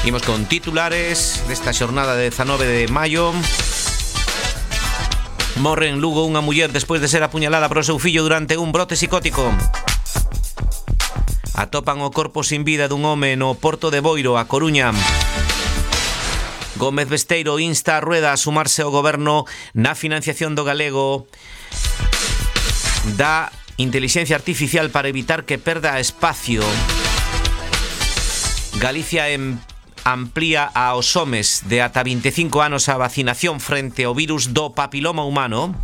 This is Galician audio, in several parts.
Imos con titulares desta xornada de 19 de maio. Morre en Lugo unha muller despois de ser apuñalada polo seu fillo durante un brote psicótico. Atopan o corpo sin vida dun home no Porto de Boiro, a Coruña. Gómez Besteiro insta a Rueda a sumarse ao goberno na financiación do galego da intelixencia artificial para evitar que perda espacio. Galicia amplía aos homes de ata 25 anos a vacinación frente ao virus do papiloma humano.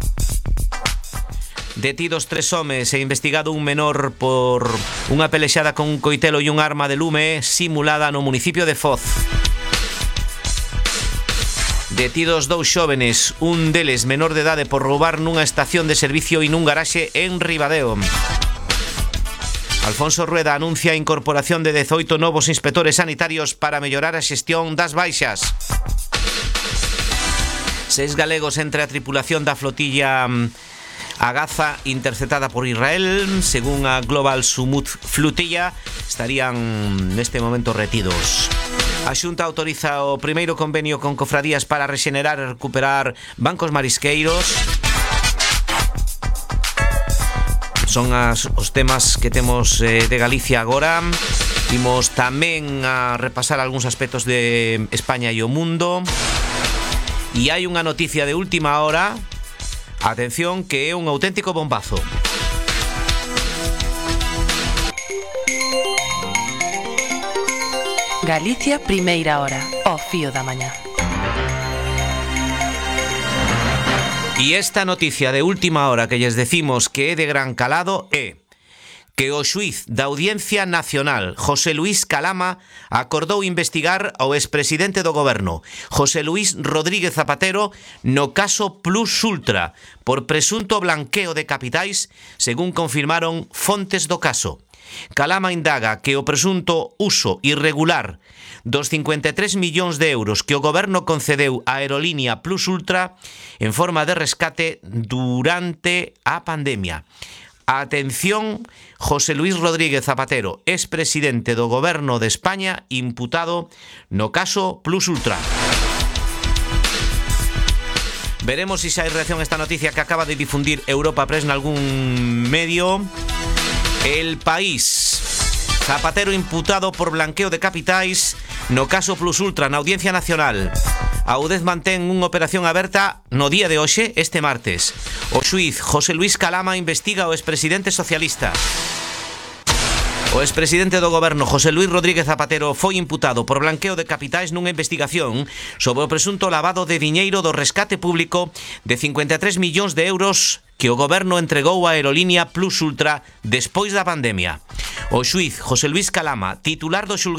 Detidos 3 homes e investigado un menor por unha pelexada con un coitelo e un arma de lume simulada no municipio de Foz. Detidos 2 xóvenes, un deles menor de idade por roubar nunha estación de servicio e nun garaxe en Ribadeo. Alfonso Rueda anuncia a incorporación de 18 novos inspectores sanitarios para mellorar a xestión das baixas. 6 galegos entre a tripulación da flotilla a Gaza interceptada por Israel. Según a Global Sumut Flotilla, estarían neste momento retidos. A Xunta autoriza o primeiro convenio con cofradías para rexenerar e recuperar bancos marisqueiros. Son os temas que temos de Galicia agora. Imos tamén a repasar algúns aspectos de España e o mundo. E hai unha noticia de última hora. Atención, que é un auténtico bombazo. Galicia, primeira hora, ao fío da mañá. E esta noticia de última hora que lles decimos que é de gran calado é que o xuíz da Audiencia Nacional, José Luis Calama, acordou investigar ao expresidente do goberno, José Luis Rodríguez Zapatero, no caso Plus Ultra, por presunto blanqueo de capitais, según confirmaron fontes do caso. Calama indaga que o presunto uso irregular dos 53 millóns de euros que o goberno concedeu á aerolínea Plus Ultra en forma de rescate durante a pandemia. Atención, José Luis Rodríguez Zapatero, expresidente do goberno de España, imputado no caso Plus Ultra. Veremos se hai reacción a esta noticia que acaba de difundir Europa Press nalgún medio. El País. Zapatero imputado por blanqueo de capitais no caso Plus Ultra na Audiencia Nacional. A UDEZ mantén unha operación aberta no día de hoxe, este martes. O xuíz José Luis Calama investiga ao expresidente socialista. O expresidente do goberno, José Luis Rodríguez Zapatero, foi imputado por blanqueo de capitais nunha investigación sobre o presunto lavado de diñeiro do rescate público de 53 millóns de euros que o goberno entregou á aerolínea Plus Ultra despois da pandemia. O xuíz José Luis Calama, titular do xulgado